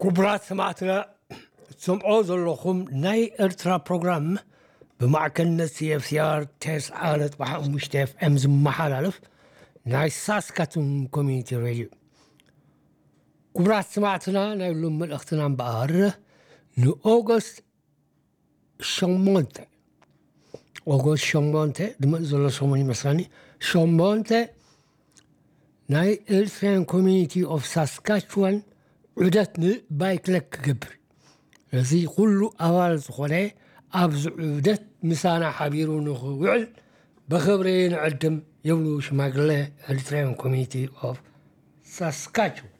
ክቡራት ሰማዕትና፣ ትሰምዖ ዘለኹም ናይ ኤርትራ ፕሮግራም ብማዕከንነት CFCR ተስዓ ነጥቢ ሓሙሽተ FM ዝመሓላለፍ ናይ ሳስካቱን ኮሚኒቲ ሬድዮ። ክቡራት ሰማዕትና፣ ናይ ሎም መልእኽትና እምበኣር ንኦገስት ሸሞንተ፣ ኦገስት ሸሞንተ ድመጽ ዘሎ ሰሙን ይመስለኒ፣ ሸሞንተ ናይ ኤርትራን ኮሚኒቲ ኦፍ ሳስካችዋን ዑደት ንባይክለክ ክገብር፣ እዚ ኩሉ ኣባል ዝኾነ ኣብዚ ዑደት ምሳና ሓቢሩ ንኽውዕል ብኽብሪ ንዕድም ይብሉ ሽማግለ ኤርትራን ኮሚኒቲ ኦፍ ሳስካችዋን።